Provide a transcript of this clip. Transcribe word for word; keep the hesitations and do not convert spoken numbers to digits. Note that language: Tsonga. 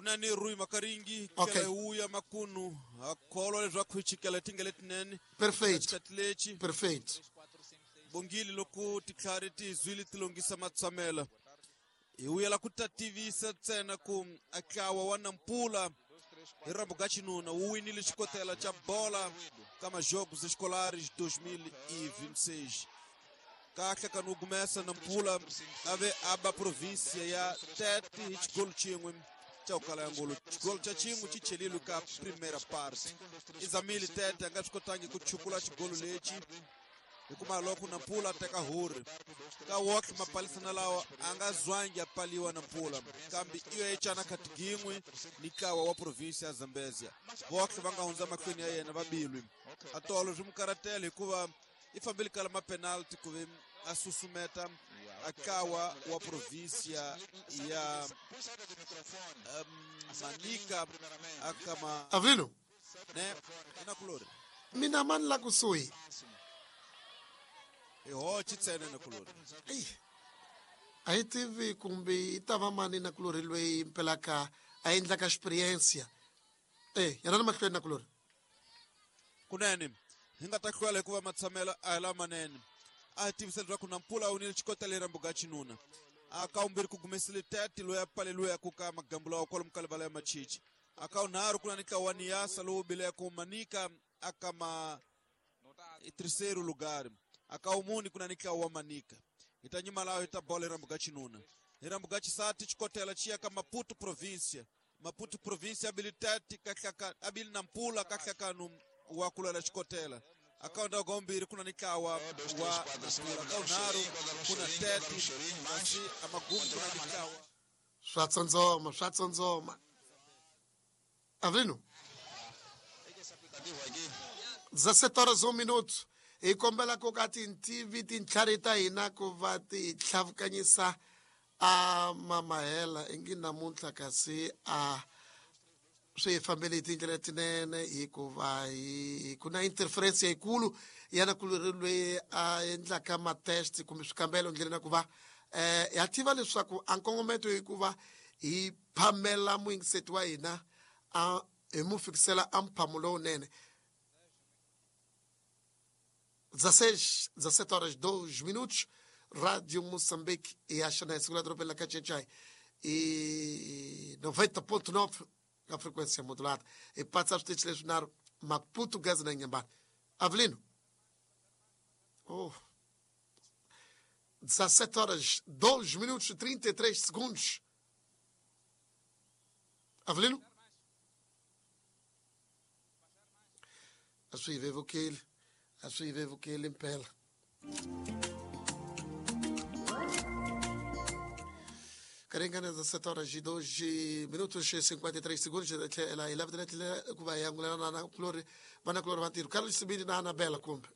Kunani Rui Makaringi Okay. kela uya makunu akholwa leswaku hi chikela tingele tinene Perfeito. xikati lexi Perfeito. Bongile loko titlhari ti zwile ti longisa matshamela hi vuyela ku ta tivisa ntsena ku atlawa wa Nampula hi rambo ga xinuna wu winile xikotela xa bola ka majogos escolares dois mil e vinte e seis. Kahle ka nugumesa Nampula ave aba província ya Tete hi xigolo xin'we xa ku kala ya ngolo. Xigolo xa xin'we xi chelile ka primeira parte. Izamile Tete a nga swi kotangi ku chukula xigolo lexi hikuva loko Nampula teka huri ka woke mapalisana lawa a nga zwangi ya paliwa Nampula kambe iyo echana khatigingwe ni ntlawa wa province ya Zambezia voke va nga hundza mahlweni ya yena vabilwi atolo swi mukaratela hikuva i fambile kala ma penalty ku ve a susumeta akawa wa província ya um, Manica akama Avelino ne inakulori mina mani la kusuhi iho chitsene nakulori Ei, a hi tivi kumbe i ta va mani nakulori loyi mpelaka a endlaka experiência eh yana na mahlweni nakulori kunene hi nga ta hlwela hikuva matshamelo a hi lamanene a hi tivisa leswaku Nampula wu nile xikotela hi rambo ga xinuna a ka wumbirhi ku gumesile Tete loyi a paleliwe ku ka magambu lawa kwalomu ka livala ya machichi a ka wunharhu ku na ni ntlawa wa Niasa lowu bileke Manica a ka ma terceiro lugar a ka wumuni ku na ni ntlawa wa Manica hi ta nyima laho hi ta bola hi rambo ga xinuna hi rambo ga xisati xikotela xi ya ka Maputo província Maputo província abili Tete kahlaka abili Nampula kahlakanu wa kulwela xikotela akaunda gombiri kuna nikawa wa Nampula kaunharu kuna Tete kasi amagumu kuna nikawa swa tsondzoma swa tsondzoma Avelino dezessete horas um minuto hi kombela ku ka tintivi tintlhari ta hina ku va ti tlhavukanyisa a mamahela ingi namuntlha kasi a swi hi fambele hi tindlela tinene hikuva hi ku na interference yikulu ya nakulori loyi a endlaka matest kumbe swikambelo ndleleni ya ku va eh ya tiva leswaku a nkongometo hikuva hi phamela muyingiseti wa hina a hi mu fikisela a mphamo lowunene. dezesseis, dezessete horas dois minutos, Rádio Moçambique e a Xanai, segunda dropela Cachechai e noventa ponto nove a frequência modulada. E passa a lecionar Maputo Gaza na Inhambane. Avelino. Oh. dezessete horas dois minutos e trinta e três segundos. Avelino? Acho que vevo que ele, acho que vevo que ele impela. Karingana dezessete horas e dois minutos e cinquenta e três segundos. Ela eleva direto kuba yangulana na kulori, bana kulori vantiru. Carlos Sibiri na Anabela kumbe.